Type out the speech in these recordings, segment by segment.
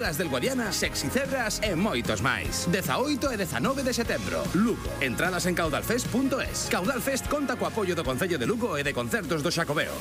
Las del Guadiana, Sexy Cebras e moitos máis. 18 e 19 de setembro. Lugo. Entradas en caudalfest.es. Caudalfest conta co apoio do Concello de Lugo e de Concertos do Xacobeo.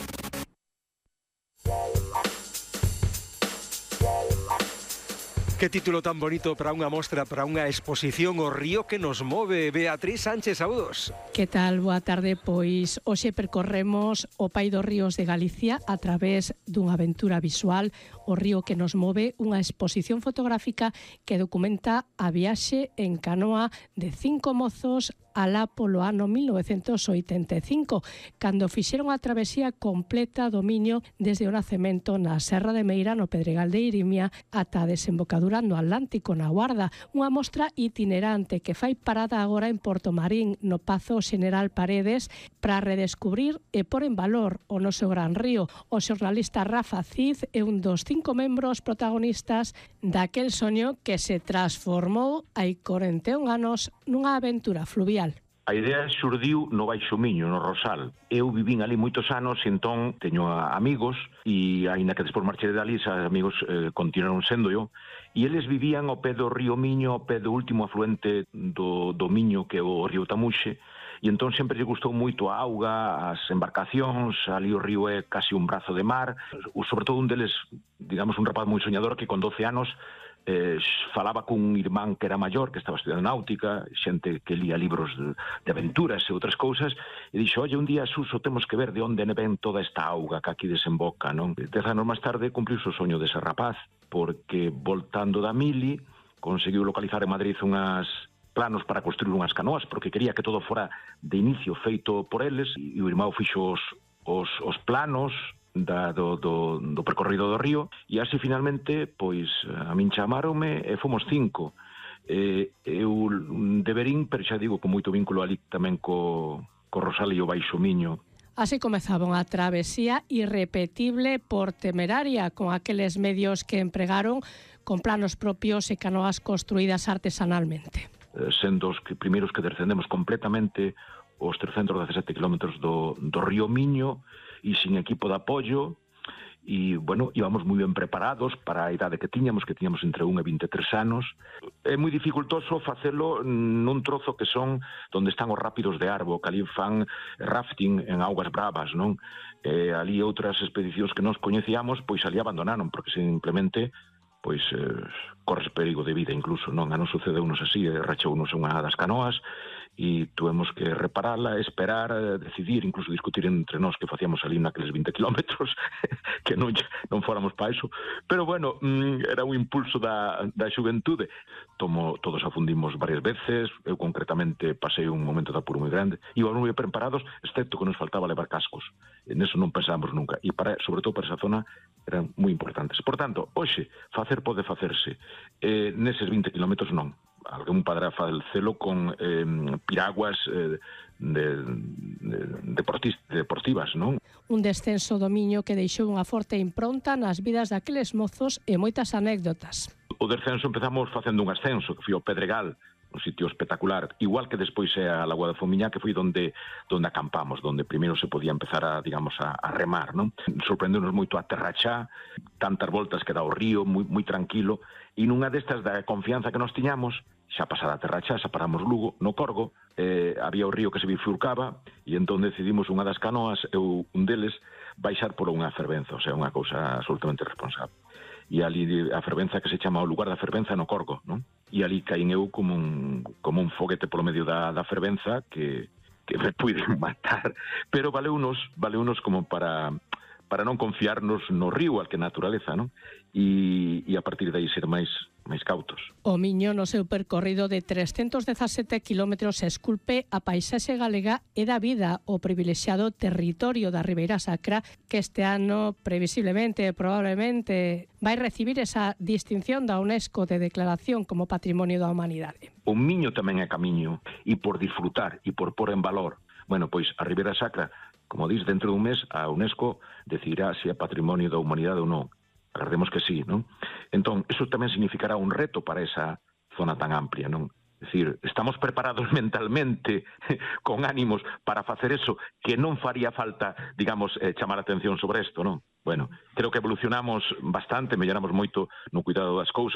Que título tan bonito para unha mostra, para unha exposición, O río que nos move. Beatriz Sánchez, saúdos. Que tal? Boa tarde. Pois hoxe percorremos o Pai dos Ríos de Galicia a través dunha aventura visual, O río que nos move, unha exposición fotográfica que documenta a viaxe en canoa de 5 mozos alá polo ano 1985, cando fixeron a travesía completa do Miño desde o nacemento na Serra de Meira, no Pedregal de Irimia, ata a desembocadura no Atlántico, na Guarda. Unha mostra itinerante que fai parada agora en Portomarín, no Pazo Xeneral Paredes, para redescubrir e pôr en valor o noso gran río. O xornalista Rafa Cid é un dos 5 membros protagonistas daquel soño que se transformou hai 41 anos nunha aventura fluvial. A idea xurdiu no Baixo Miño, no Rosal. Eu vivín ali moitos anos e entón teño amigos e aínda que despois marchei de ali, os amigos continuaron sendo eu, e eles vivían ao pé do río Miño, ao pé do último afluente do Miño, que é o río Tamuxe, e entón sempre lle gustou moito a auga, as embarcacións, ali o río é casi un brazo de mar, sobre todo un deles, digamos, un rapaz moi soñador que con 12 anos falaba cun irmán que era maior, que estaba estudiando náutica, xente que lía libros de aventuras e outras cousas, e dixo, oye, un día, Suso, temos que ver de onde ven toda esta auga que aquí desemboca, non? 10 anos máis tarde cumpliu o soño dese rapaz, porque voltando da Mili, conseguiu localizar en Madrid unhas planos para construir unhas canoas, porque quería que todo fora de inicio feito por eles, e o irmão fixo os planos do percorrido do río, e así finalmente pois a min chamaronme e fomos 5. Eu deberín, pero xa digo, con moito vínculo ali tamén co Rosal e o Baixo Miño. Así comezaba unha travesía irrepetible por Temeraria, con aqueles medios que empregaron con planos propios e canoas construídas artesanalmente. Sendo os primeiros que descendemos completamente os 317 kilómetros do río Miño, e sin equipo de apoio, e, bueno, íbamos moi ben preparados para a idade que tiñamos entre 1 e 23 anos. É moi dificultoso facelo nun trozo que son onde están os rápidos de Arbo, que ali fan rafting en augas bravas, non? Ali outras expedicións que nos coñecíamos, pois ali abandonaron, porque simplemente pois corres perigo de vida incluso, non? A non sucedeunos así, rachounos unha das canoas, e tuvemos que reparala, esperar, decidir, incluso discutir entre nós que facíamos ali naqueles 20 kilómetros, que non fóramos para iso. Pero, bueno, era un impulso da xuventude. Todos afundimos varias veces, eu concretamente pasei un momento de apuro moi grande, íbamos moi preparados, excepto que nos faltaba levar cascos. Neso non pensábamos nunca, e sobre todo para esa zona eran moi importantes. Por tanto, hoxe, facer pode facerse. Neses 20 kilómetros non. Alguén padrá facelo con piraguas deportivas, non? Un descenso do Miño que deixou unha forte impronta nas vidas daqueles mozos e moitas anécdotas. O descenso empezamos facendo un ascenso, que foi ao Pedregal, un sitio espectacular, igual que despois é a Lagoa da Fomiñá, que foi onde acampamos, onde primeiro se podía empezar a remar, non? Sorprendeu-nos moito a Terrachá, tantas voltas que dá o río, moi tranquilo, e nunha destas da confianza que nos tiñamos, xa pasada a Terrachá, xa paramos Lugo, no Corgo, había o río que se bifurcaba, e entón decidimos unha das canoas, eu un deles, baixar por unha fervenza, o sea, unha cousa absolutamente responsable. E ali a fervenza que se chama o lugar da fervenza no Corgo, non? E ali caín eu como un foguete polo medio da fervenza que me puiden matar, pero valeunos como para non confiarnos no río, al que naturaleza, non? E a partir de aí ser máis cautos. O Miño, no seu percorrido de 317 kilómetros, esculpe a paisaxe galega e da vida o privilexiado territorio da Ribeira Sacra, que este ano, previsiblemente, probablemente, vai recibir esa distinción da UNESCO de declaración como Patrimonio da Humanidade. O Miño tamén é camiño, e por disfrutar, e por pôr en valor. Bueno, pois a Ribeira Sacra, como dis, dentro dun mes a UNESCO decidirá se é Patrimonio da Humanidade ou non. Agardemos que sí, non? Entón, iso tamén significará un reto para esa zona tan amplia, non? É dicir, estamos preparados mentalmente, con ánimos, para facer eso, que non faría falta, digamos, chamar a atención sobre isto, non? Bueno, creo que evolucionamos bastante, melloramos moito no cuidado das cousas.